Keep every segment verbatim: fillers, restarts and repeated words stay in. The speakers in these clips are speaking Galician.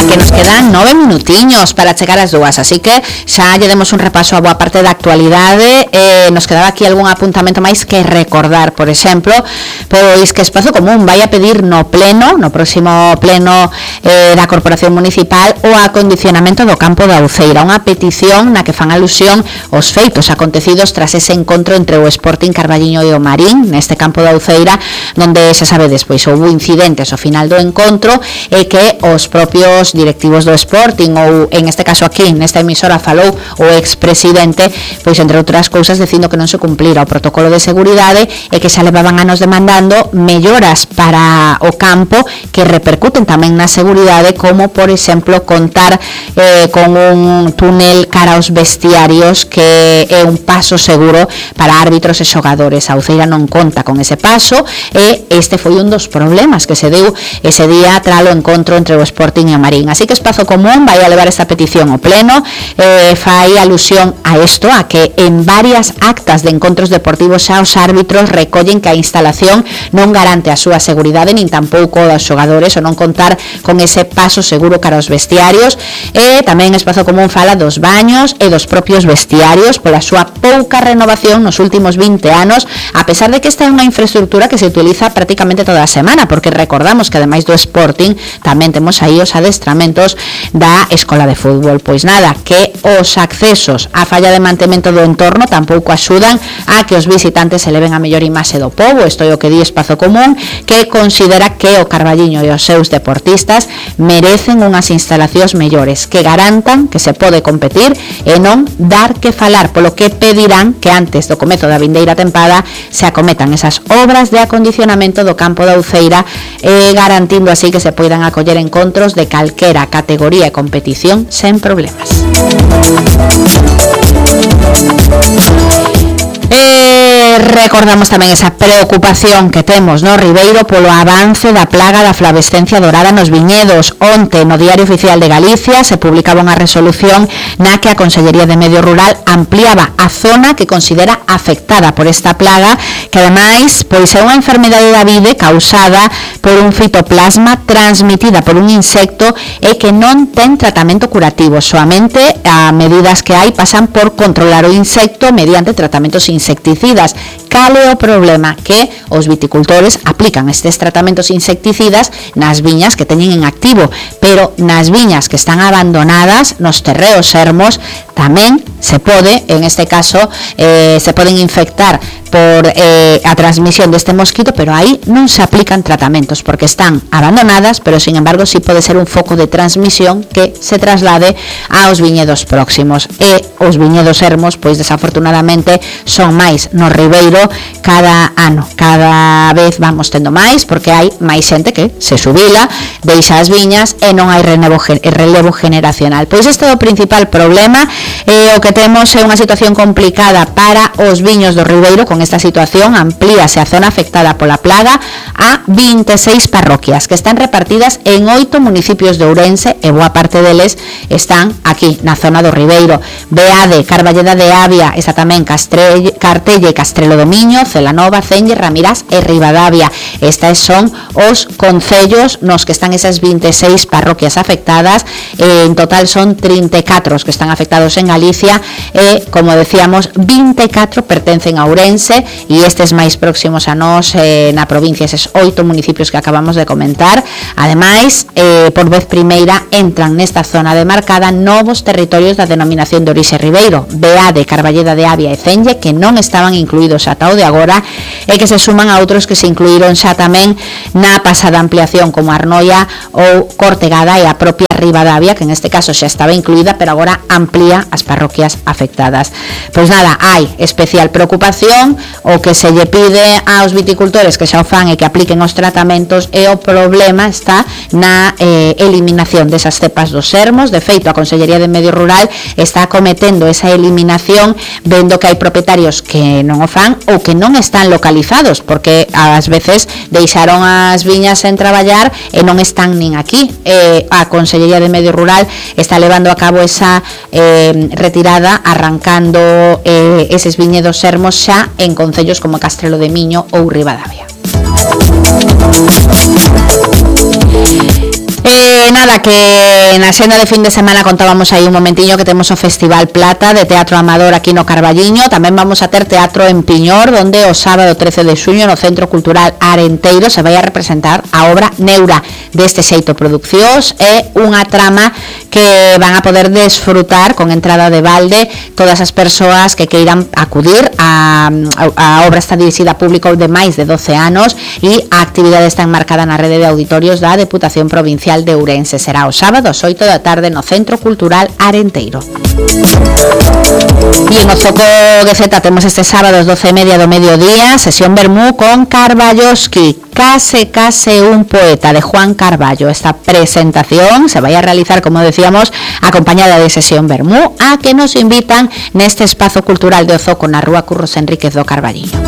que nos quedan nove minutiños para chegar as dúas, así que xa lle demos un repaso a boa parte da actualidade. Eh, nos quedaba aquí algún apuntamento máis que recordar, por exemplo, pois que Espazo Común vai a pedir no pleno, no próximo pleno eh, da Corporación Municipal, o acondicionamento do campo da Uceira, unha petición na que fan alusión aos feitos acontecidos tras ese encontro entre o Sporting Carballiño e o Marín neste campo da Uceira, onde xa sabedes, pois houve incidentes ao final do encontro e que os propios directivos do Sporting, ou en este caso aquí nesta emisora falou o expresidente, pois entre outras cousas dicindo que non se cumplira o protocolo de seguridade e que xa levaban anos demandando melloras para o campo que repercuten tamén na seguridade, como por exemplo contar eh, con un túnel cara aos vestiarios que é un paso seguro para árbitros e xogadores. A Uceira non conta con ese paso e este foi un dos problemas que se deu ese día tras o encontro entre o Sporting e o Marín. Así que Espazo Común vai a levar esta petición ao pleno, eh, fai alusión a isto, a que en varias actas de encontros deportivos xa os árbitros recollen que a instalación non garante a súa seguridade nin tampouco dos xogadores, ou non contar con ese paso seguro cara aos vestiarios. E tamén Espazo Común fala dos baños e dos propios vestiarios pola súa pouca renovación nos últimos vinte anos, a pesar de que esta é unha infraestructura que se utiliza prácticamente toda a semana, porque recordamos que ademais do Sporting tamén temos aí os adestramentos da Escola de Fútbol. Pois nada, que os accesos á falla de mantemento do entorno tampouco axudan a que os visitantes se leven a mellor imaxe do pobo. Isto é o que di Espazo Común, que considera que o Carballiño e os seus deportistas merecen unhas instalacións mellores que garantan que se pode competir e non dar que falar, polo que pedirán que antes do comezo da vindeira tempada se acometan esas obras de acondicionamento do campo da Uceira, eh, garantindo así que se poidan acoller encontros de calquera categoría e competición sen problemas. Eh, recordamos tamén esa preocupación que temos no Ribeiro polo avance da plaga da flavescencia dorada nos viñedos. Onte no Diario Oficial de Galicia se publicaba unha resolución na que a Consellería de Medio Rural ampliaba a zona que considera afectada por esta plaga, que ademais pois é unha enfermedade da vide causada por un fitoplasma transmitida por un insecto e que non ten tratamento curativo. Soamente a medidas que hai pasan por controlar o insecto mediante tratamentos insecticidas. Cal é o problema? Que os viticultores aplican estes tratamentos insecticidas nas viñas que teñen en activo, pero nas viñas que están abandonadas, nos terreos ermos, tamén se pode, en este caso, eh, se poden infectar por eh, a transmisión deste mosquito, pero aí non se aplican tratamentos porque están abandonadas, pero sin embargo sí pode ser un foco de transmisión que se traslade aos viñedos próximos. E os viñedos ermos, pois desafortunadamente son máis no Ribeiro cada ano, cada vez vamos tendo máis, porque hai máis xente que se xubila, deixa as viñas e non hai relevo, relevo generacional. Pois este é o principal problema. Eh, o que temos é unha situación complicada para os viños do Ribeiro. Con esta situación amplíase a zona afectada pola plaga a vinte e seis parroquias que están repartidas en oito municipios de Ourense e boa parte deles están aquí na zona do Ribeiro. Beade, Carballeda de Avia, está tamén Castrelle, Cartelle, Castrelo do Miño, Celanova, Cenlle, Ramirás e Ribadavia. Estes son os concellos nos que están esas vinte e seis parroquias afectadas. En total son trinta e catro os que están afectados en Galicia e, como decíamos, vinte e catro pertencen a Ourense e estes máis próximos a nós eh, na provincia, eses oito municipios que acabamos de comentar. Ademais, eh, por vez primeira entran nesta zona demarcada novos territorios da denominación de orixe Ribeiro, Beade, Carballeda de Avia e Cenlle, que non estaban incluídos ata o de agora e que se suman a outros que se incluíron xa tamén na pasada ampliación, como Arnoia ou Cortegada e a propia Ribadavia, que en este caso xa estaba incluída, pero agora amplía as parroquias afectadas. Pois nada, hai especial preocupación. O que se lle pide aos viticultores que xa o fan e que apliquen os tratamentos, e o problema está na eh, eliminación desas cepas dos ermos. De feito, a Consellería de Medio Rural está acometendo esa eliminación, vendo que hai propietarios que non o fan ou que non están localizados, porque ás veces deixaron as viñas sen traballar e non están nin aquí. Eh, a Consellería de Medio Rural está levando a cabo esa eh, retirada, arrancando eh, eses viñedos ermos xa en concellos como Castrelo de Miño ou Ribadavia. Eh, nada, Nada, que na xenda de fin de semana contábamos aí un momentiño que temos o Festival Plata de Teatro Amador aquí no Carballiño. Tamén vamos a ter teatro en Piñor, donde o sábado trece de xuño no Centro Cultural Arenteiro se vai a representar a obra Neura. Deste xeito Produccións é unha trama que van a poder desfrutar con entrada de balde todas as persoas que queiran acudir. A, a, a obra está dirixida a público de máis de doce anos e a actividade está enmarcada na rede de auditorios da Deputación Provincial de Ourense. Será o sábado ás oito da tarde no Centro Cultural Arenteiro. E en o Zoco de Zeta temos este sábado ás doce e media do mediodía sesión Vermú con Carballoski, Case Case un poeta, de Juan Carballo. Esta presentación se vai a realizar, como decíamos, acompañada de sesión Vermú, a que nos invitan neste espazo cultural de O Zoco na Rúa Curros Enríquez do Carballiño.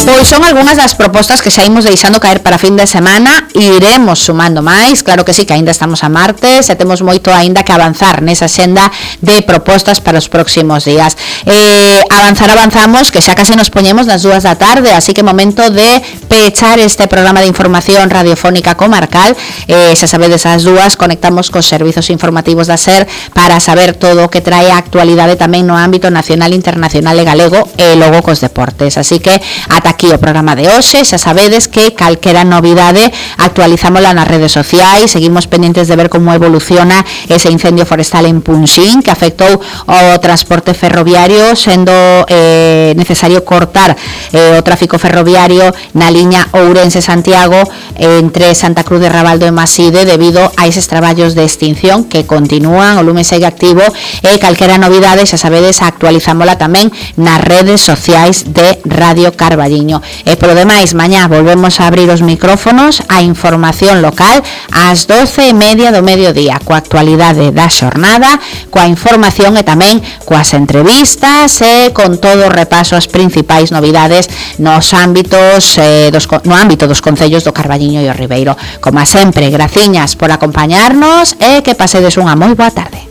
Pois son algunhas das propostas que xa imos deixando caer para fin de semana. Iremos sumando máis, claro que sí, que aínda estamos a martes e temos moito aínda que avanzar nesa senda de propostas para os próximos días. Eh, avanzar avanzamos, que xa case nos poñemos nas dúas da tarde, así que momento de pechar este programa de información radiofónica comarcal. Eh, xa sabedes, as dúas conectamos cos servizos informativos da SER para saber todo o que trae a actualidade tamén no ámbito nacional, internacional e galego, e logo cos deportes. Así que ata aquí o programa de hoxe. Xa sabedes que calquera novidade actualizámola nas redes sociais. Seguimos pendientes de ver como evoluciona ese incendio forestal en Punxín, que afectou o transporte ferroviario, sendo eh, necesario cortar eh, o tráfico ferroviario na liña Ourense-Santiago entre Santa Cruz de Rabaldo e Maside debido a eses traballos de extinción que continúan. O lume segue activo e calquera novidade, xa sabedes, actualizámola tamén nas redes sociais de Radio Carballiño. E polo demais, mañá volvemos a abrir os micrófonos a información local ás doce e media do mediodía, coa actualidade da xornada, coa información e tamén coas entrevistas e con todo o repaso as principais novidades nos ámbitos eh, dos, no ámbito dos concellos do Carballiño e o Ribeiro. Como sempre, graciñas por acompañarnos e que pasedes unha moi boa tarde.